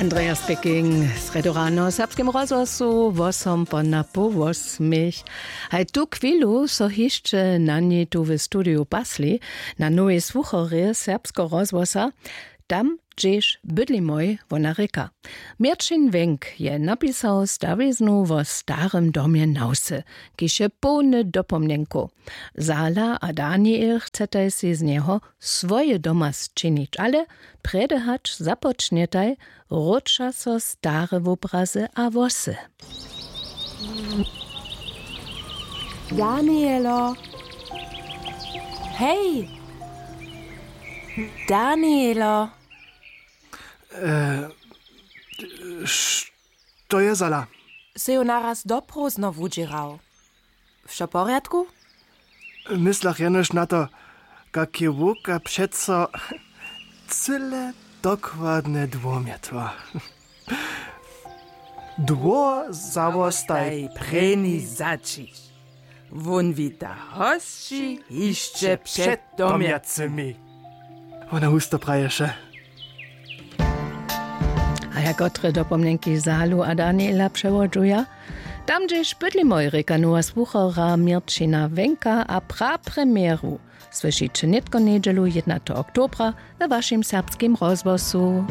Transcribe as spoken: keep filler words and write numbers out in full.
Andreas Peking, srjedu rano w Serbskim rozhłosu, wosom po napoł wosmich. Haj tu chwilu so hišće na niej tu w studiju pasli, na nowej słucharje Serbskeho rozhłosa, tam hdźež bydlimoj, wona rěka. Měrćin Wenk je napisał stawiznu wo starym domje na wsy, kiž je połny dopomnjenkow. Zala a Daniel chcetaj sej z njeho swoje doma sčinić, ale prjedy hač započnjetaj wróća so stare wobrazy a włosy. Danielo. Hej! Danielo. E, što je, Zala? Sy jo naraz doprowzno wudźěrał. Wšo w porjadku? Myslach jenož na to, kak je wowka přeco cyle dokładne dwomjetła. Dwór zawostaj prěni zaćiš. Wón wita hosći hišće před domjacymi. Wona husto praješe. A ja kotre dopomnjenki Zalu a Daniela přewodźuja? Tam hdźež bydlimoj, rěka nowa słuchara Měrćina Wenka a prapremjeru słyšiće nětko njedźelu jědnateho oktobra we wašim Serbskim rozhłosu.